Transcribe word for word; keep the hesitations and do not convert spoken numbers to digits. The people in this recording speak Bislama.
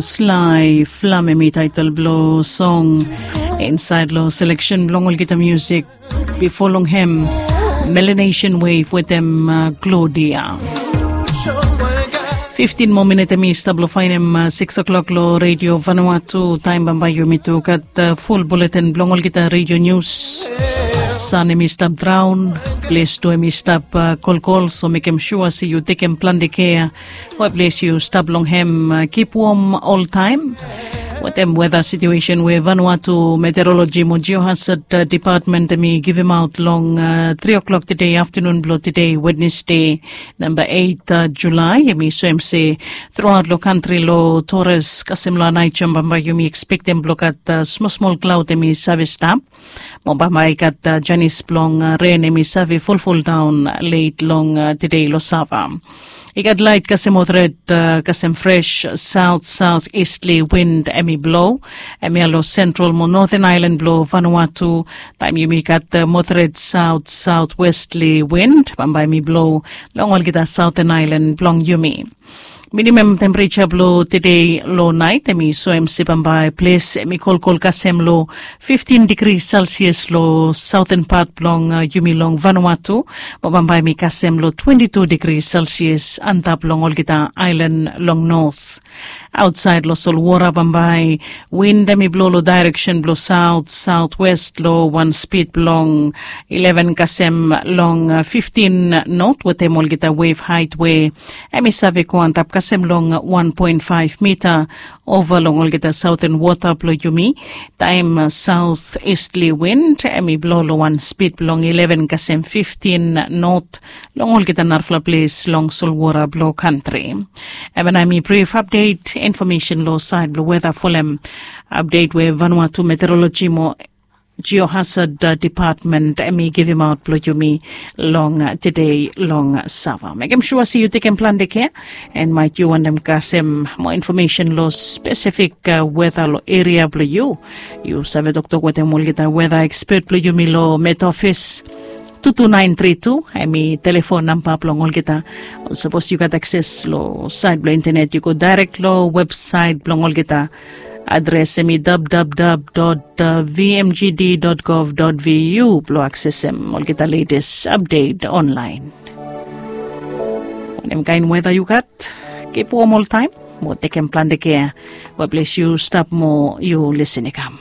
Sly Flam, em i taetel blong song insaed long seleksen blong olgeta musik. Bifo long hem, Melanesian Wave wetem Gloria. Fiftin moa minit em i stap long faenem sikis o'klok long Redio Vanuatu. Taem bambae yumi tu gat ful buletin blong olgeta redio nius. San em i stap draon, ples tu em i stap kolkol, so mekem sua se yu tekem plante kea we ples yu stap long hem. Kip wom oltaem. Wetem weta situesen we Vanuatu Meteoroloji mo Jiohasad Depatmen em i givimaot long tri o'klok tede aftanun blong tede Wednesde, namba eit Julae, em i soem se truaot long kantri long Tores kasem long Aneityum bambae yumi ekspektem blong gat smol smol klaod em i save stap. Mo bambae i gat janis blong ren em i save folfoldaon let long tede long Sava. I gat laet kasem mo tret kasem fres saot saot istli win em i blo. Em ya long sentral mo noten aelan blong Vanuatu. Taem yumi gat mo tret saot saot westli win bambae em i blo long olgeta saoten aelan blong yumi. Minimem tempereja blong tede long naet em i soem se bambae ples em i kolkol kasem long fiftin digri selsias long saoten pat blong yumi long Vanuatu. Mo bambae em i kasem long twenti tu digri selsias antap long olgeta aelan long not. Aotsaed long solwora bambae win em i blo long daereksen blong saot saotwes long wan spid blong ileven kasem long fiftin not wetem olgeta wef haet we em i save go antap kasem long wan poen faef mita ova long olgeta saoten wota blong yumi. Taem saot istli win em i blo long wan spid blong ileven kasem fiftin not long olgeta narafala ples long solwora blong kantri. Em ya nao em i brif apdet infomesen long saed blong weta folem apdet we Vanuatu Meteoroloji mo Jiohasad Depatmen em i givimaot blong yumi long tede long Sava. Mekem sua se yu tekem plante kea. En maet yu wantem kasem moa infomesen long spesifik weta long eria blong yu, yu save toktok wetem olgeta weta ekspet blong yumi long Met Ofis. Tu tu naen tri tu em i telefon namba blong olgeta. Sapos yu gat akses long saed blong intenet yu go daerek long websaet blong olgeta. Adres em i www dot vmgd dot gov dot vu blong aksesem olgeta letes apdet onlaen. Wanem kaen weta yu gat? Kip wom oltaem mo tekem plante kea. We ples yu stap mo yu lisin i kam.